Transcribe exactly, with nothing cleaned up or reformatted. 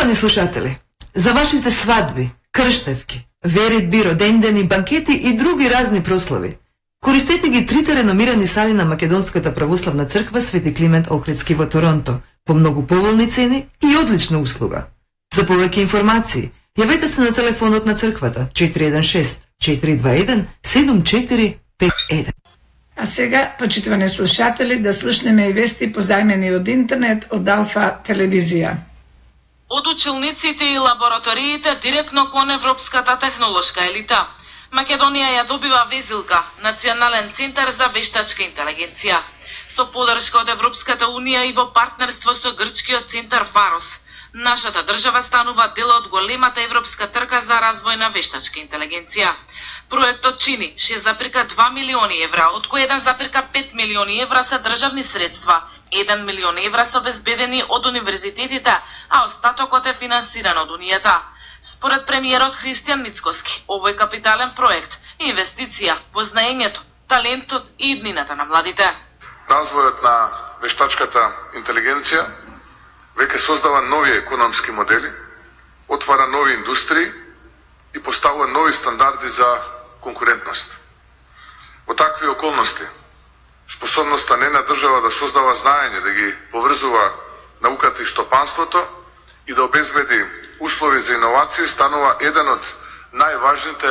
Почитувани слушатели, за вашите свадби, крштевки, веридби, родендени, банкети и други разни прослави, користете ги трите реномирани сали на Македонската православна црква Свети Климент Охридски во Торонто по многу поволни цени и одлична услуга. За повеќе информации, јавете се на телефонот на црквата четири еден шест четири два еден седум четири пет еден. А сега, почитувани слушатели, да слушнеме и вести позајмени од интернет од Алфа телевизија. Од училниците и лабораториите директно кон европската технолошка елита. Македонија ја добива везилка, Национален центар за вештачка интелигенција. Со подршка од Европската унија и во партнерство со грчкиот центар Фарос, нашата држава станува дел од големата европска трка за развој на вештачка интелигенција. Проектот чини шест зарез и две милиони евра, од кои еден зарез и пет милиони евра се државни средства, еден милион евра се обезбедени од универзитетите, а остатокот е финансиран од Унијата. Според премиерот Христијан Мицкоски, овој капитален проект е инвестиција во знаењето, талентот и иднината на младите. Развојот на вештачката интелигенција веќе создава нови економски модели, отвара нови индустрии и поставува нови стандарди за конкурентност. Во такви околности, способноста не на држава да создава знаење, да ги поврзува науката и штопанството и да обезбеди услови за иновации станува еден од најважните